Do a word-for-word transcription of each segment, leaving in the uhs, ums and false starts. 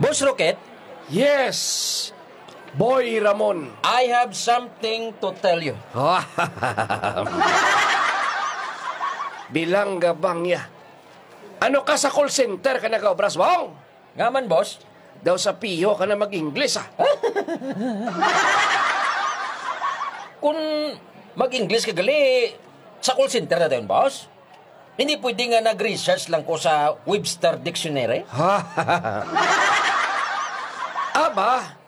Boss Rocket, Yes, Boy Ramon. I have something to tell you. Bilang gabang ya. Ano ka sa call center ka nagaobras, Bong? Nga man, boss? Daw sa piho ka na mag-Ingles, ah. Kung mag-Ingles ka gali, sa call center na dayon, boss? Hindi pwede nga nag-research lang ko sa Webster Dictionary? Aba,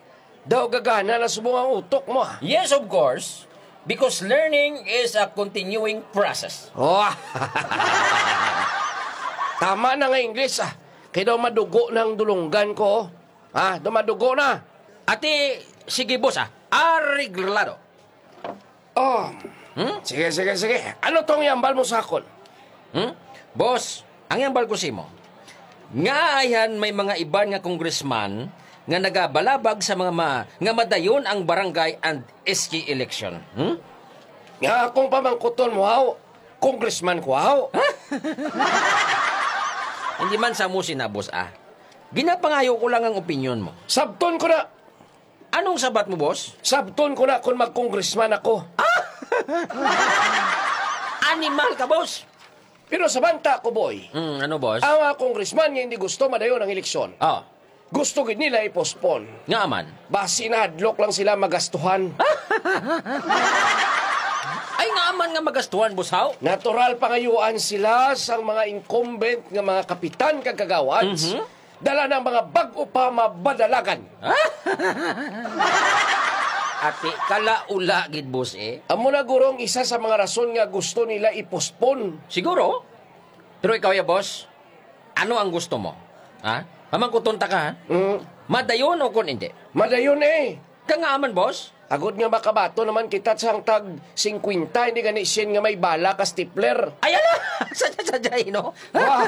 daw gagana na subong ang utok mo, ah. Yes, of course. Because learning is a continuing process. Oh. Tama na nga English, ah. Kay daw madugo na ang dulunggan ko. Ah, daw madugo na. Ati, sige, boss, ah. Areglado. Oh. Hmm? Sige, sige, sige. Ano tong yambal mo sa akon? Hmm? Boss, ang yambal ko simo, nga ayhan may mga iban nga congressman nga nagabalabag sa mga ma-, nga madayon ang barangay and S K election. Hmm? Nga akong pamangkuton mo, haw, congressman ko, haw. Hindi man sa mo sinabos, ah. Ginapangayo ko lang ang opinyon mo. Sabton ko na. Anong sabat mo, boss? Sabton ko na kung mag-congressman ako. Animal ka, boss. Pero sa banta ko, boy, Mm, ano, boss? Ang mga congressman nga hindi gusto madayon ang eleksyon. Oh. Gusto gid nila i-postpone. Nga man? Basi nahadlok lang sila magastuhan. Ay, nga man nga magastuhan, boss, haw? Natural pangayuan sila sang mga incumbent nga mga kapitan kag kagawads. Mhm. Dala ng mga bag-o pa mabadalagan. Ati, kalaula gid, boss, eh. Amo na gurong isa sa mga rason nga gusto nila i-postpone. Siguro. Pero ikaw ya, boss, ano ang gusto mo? Ha? Pamangkuton ta ka, ha? Mm. Madayon o kon hindi? Madayon, eh. Ka nga man, boss? Agod nga makabato naman kita sang tag singkwenta, hindi gani sien nga may bala ka stapler. Ay, ala! Sadya-sadya, eh, no? Wah!